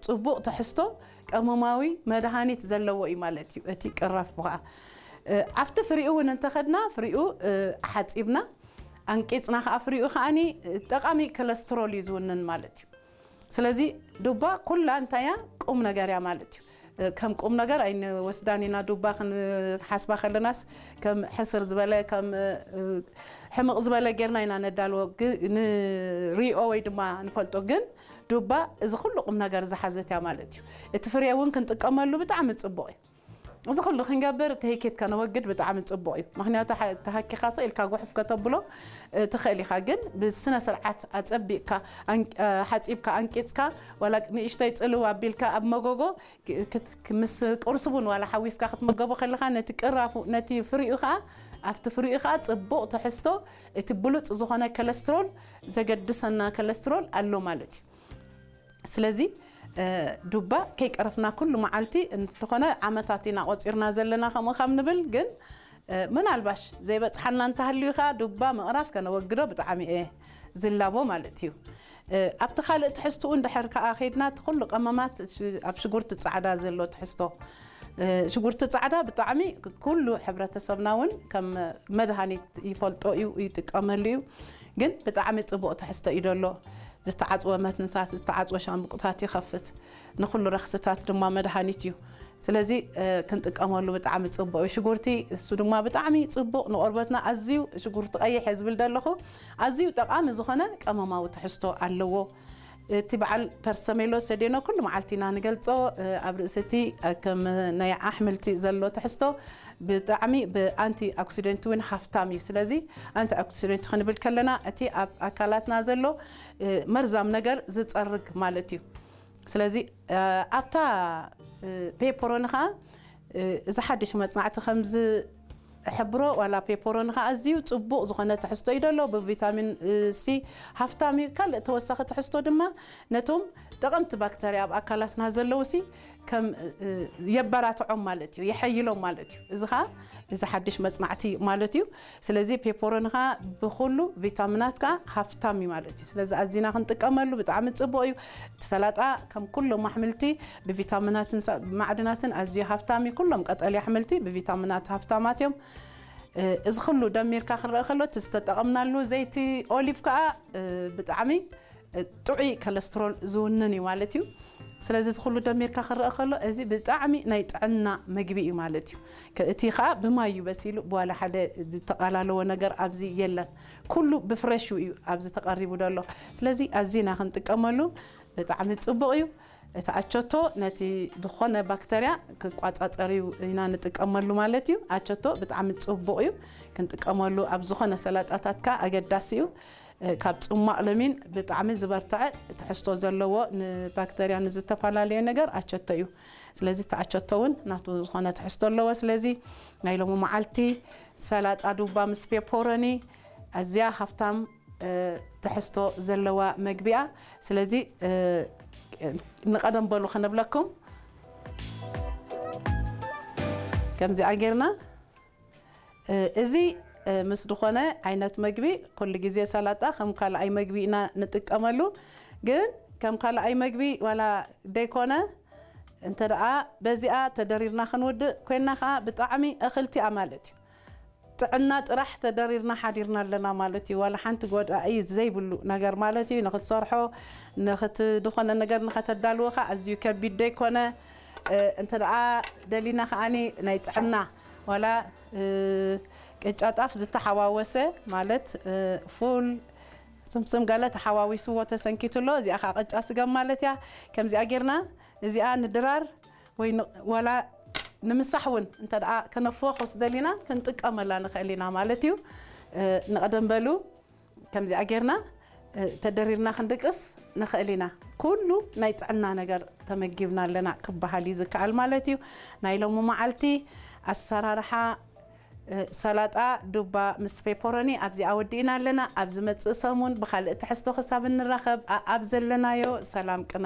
ጽቡቕ ትሕዝቶ ቀመማዊ መድሃኒት ዘለዎ እዩ ማለት እዩ። እቲ ቅራፍ ከዓ ኣብቲ ፍሪኡ እውን እንተኸድና ፍሪኡ ሓፂብና ኣንቂፅና ከዓ ፍሪኡ ከዓኒ ጠቃሚ ኮለስትሮል እዩ ዝውንን ማለት እዩ። ስለዚ ዱባ ኩላ እንታይ እያ? ቁም ነገር እያ ማለት እዩ። ከም ቁም ነገር ኣይንወስዳን ኢና። ዱባ ክንሓስባ ከለናስ ከም ሕስር ዝበለ ከም ሕምቕ ዝበለ ጌርና ኢና ነዳልዎ ንሪኦ ወይ ድማ ንፈልጦ። ግን ዱባ እዚ ኩሉ ቁም ነገር ዝሓዘት እያ ማለት እዩ። እቲ ፍሬ እውን ክንጥቀመሉ ብጣዕሚ ፅቡቕ እዩ። እዚ ኩሉ ክንገብር እቲ ሄኬት ከነወግድ ብጣዕሚ ፅቡቕ እዩ። ምክንያቱ ተሃኪኻ ስቕ ኢልካ ጉሕፍ ከተብሎ ትኽእል ኢኻ። ግን ብስነ ስርዓት ኣፀቢቕካ ሓፂብካ ኣንቂፅካ ዋላ ንእሽቶይ ፅልው ኣቢልካ ኣብ መጎጎ ምስ ቁርሲ እውን ዋላ ሓዊስካ ክትመገቦ ከለኻ ነቲ ቅራፉ ነቲ ፍሪኡ ከዓ ኣብቲ ፍሪኡ ከዓ ፅቡቕ ትሕዝቶ እቲ ብሉፅ ዝኾነ ኮለስትሮል ዘገድሰና ኮለስትሮል ኣሎ ማለት እዩ። ስለዚ ዱባ ከይቀረፍና ኩሉ መዓልቲ እንተኾነ ዓመታት ኢና ቆፂርና ዘለና ከምኡ ካብ ንብል ግን ምናልባሽ ዘይበፅሓና እንተሃልዩ ከዓ ዱባ ምቕራፍ ከነወግዶ ብጣዕሚ እየ ዝላቦ ማለት እዩ። ኣብቲ ካልእ ትሕዝትኡ እንድሕር ከዓ ከይድና እቲ ኩሉ ቀመማት ኣብ ሽጉርቲ ፃዕዳ ዘሎ ትሕዝቶ ሽጉርቲ ፃዕዳ ብጣዕሚ ኩሉ ሕብረተሰብና እውን ከም መድሃኒት ይፈልጦ እዩ ይጥቀመሉ እዩ። ግን ብጣዕሚ ፅቡቕ ትሕዝቶ እዩ ደሎ። ዝተዓፅወ መትንታት ዝተዓፅወ ሻምብቁታት ይኸፍት። ንኩሉ ረክስታት ድማ መድሃኒት እዩ። ስለዚ ክንጥቀመሉ ብጣዕሚ ፅቡቕ እዩ ሽጉርቲ። እሱ ድማ ብጣዕሚ ፅቡቕ ንቆርበትና ኣዝዩ ሽጉርቲ ቀይሕ እየ ዝብል ዘለኹ ኣዝዩ ጠቃሚ ዝኾነ ቀመማዊ ትሕዝቶ ኣለዎ። እቲ በዓል ፐርሰሜሎ ሰዴኖ ኩሉ መዓልቲ ኢና ንገልጾ። ኣብ ርእሲ እቲ ከም ናይ ኣሕምልቲ ዘሎ ትሕዝቶ ብጣዕሚ ብኣንቲ ኦክሲደንት እውን ሃፍታም እዩ። ስለዚ ኣንቲ ኦክሲደንት ክንብል ከለና እቲ ኣብ ኣካላትና ዘሎ መርዛም ነገር ዝጸርግ ማለት እዩ። ስለዚ ኣብታ ፔፐሮኒ ከዓ እዚ ሓድሽ መጽናዕቲ ከምዚ ሕብሮ ዋላ ፔፐሮኒ ከዓ ኣዝዩ ጽቡቕ ዝኾነ ትሕዝቶ እዩ ደሎ። ብቪታሚን ሲ ሃፍታም እዩ። ካልእ ተወሳኺ ትሕዝቶ ድማ ነቶም ጠቐምቲ ባክተርያ ኣብ ኣካላትና ዘለዉ ሲ ከም የበራትዖም ማለት እዩ፣ የሐይሎም ማለት እዩ። እዚ ከዓ እዚ ሓድሽ መጽናዕቲ ማለት እዩ። ስለዚ ፔፐሮኒ ከዓ ብኩሉ ቪታሚናት ከዓ ሃፍታም እዩ ማለት እዩ። ስለዚ ኣዚና ክንጥቀመሉ ብጣዕሚ ጽቡቕ እዩ። እቲ ሰላጣ ከም ኩሎም ኣሕምልቲ ብቪታሚናትን ማዕድናትን ኣዝዩ ሃፍታም እዩ። ኩሎም ቀጠልያ ኣሕምልቲ ብቪታሚናት ሃፍታማት እዮም። እዚ ኩሉ ደሚርካ ክረአ ከሎ እቲ ዝተጠቐምናሉ ዘይቲ ኦሊቭ ከዓ ብጣዕሚ ጥዑይ ኮለስትሮል ዝውንን እዩ ማለት እዩ። ስለዚ እዚ ኩሉ ደሚርካ ክረአ ከሎ እዚ ብጣዕሚ ናይ ጥዕና መግቢ እዩ ማለት እዩ። እቲ ከዓ ብማይ እዩ በሲሉ፣ ብዋላ ሓደ ዝተቓላለዎ ነገር ኣብዚ የለን። ኩሉ ብፍረሹ እዩ ኣብዚ ተቐሪቡ ዘሎ። ስለዚ ኣዚና ክንጥቀመሉ ብጣዕሚ ፅቡቕ እዩ። እቲ ኣቸቶ ነቲ ዝኾነ ባክተርያ ክቋፃፀር እዩ ኢና ንጥቀመሉ ማለት እዩ። ኣቸቶ ብጣዕሚ ፅቡቕ እዩ ክንጥቀመሉ ኣብ ዝኾነ ሰላጣታትካ ኣገዳሲ እዩ። ካብ ጽማቕ ለሚን ብጣዕሚ ዝበርትዐ ትሕዝቶ ዘለዎ ንባክተርያ ንዝተፈላለየ ነገር ኣቸቶ እዩ። ስለዚ እቲ ኣቸቶ እውን ናቱ ዝኾነ ትሕዝቶ ኣለዎ። ስለዚ ናይ ሎሚ መዓልቲ ሰላጣ ዱባ ምስ ፔፖሮኒ ኣዝያ ሃፍታም ትሕዝቶ ዘለዋ መግቢያ። ስለዚ ንቐደም በሉ ከነብለኩም ከምዚኣ ጌርና እዚ ምስ ዝኾነ ዓይነት መግቢ ኩሉ ግዜ ሰላጣ ከም ካልኣይ መግቢ ኢና ንጥቀመሉ። ግን ከም ካልኣይ መግቢ ዋላ ደይኮነ እንተ ደኣ በዚኣ ተደሪርና ክንውድእ ኮይና ከዓ ብጣዕሚ እኽልቲ እያ ማለት እዩ። ጥዕና ጥራሕ ተደሪርና ሓዲርና ኣለና ማለት እዩ። ዋላ ሓንቲ ጎዳኢ ዘይብሉ ነገር ማለት እዩ። ንክትሰርሖ ንክት ዝኾነ ነገር ንከተዳልዎ ከዓ ኣዝዩ ከቢድ ደይኮነ። እንተ ደኣ ደሊና ከዓኒ ናይ ጥዕና ዋላ ቅጫ ጣፍ ዝተሓዋወሰ ማለት ፉል ስምስም ገለ ተሓዋዊስዎ ተሰንኪቱ ኣሎ። እዚኣ ከዓ ቅጫ ስገም ማለት እያ። ከምዚኣ ጌርና እዚኣ ንድራር ወይ ዋላ ንምሳሕ እውን እንተ ደኣ ከነፍወ ኮስ ደሊና ክንጥቀመላ ንኽእል ኢና ማለት እዩ። ንቐደም በሉ ከምዚኣ ጌርና ተደሪርና ክንድቅስ ንኽእል ኢና። ኩሉ ናይ ጥዕና ነገር ተመጊብና ኣለና ክበሃል እዩ ዝከኣል ማለት እዩ። ናይ ሎሚ መዓልቲ ኣሰራርሓ ሰላጣ ዱባ ምስ ፔፐሮኒ ኣብዚኣ ወዲእና ኣለና። ኣብ ዝመጽእ ሰሙን ብኻልእ ትሕዝቶ ክሳብ እንራኸብ ኣብ ዘለናዮ ሰላም ቅነ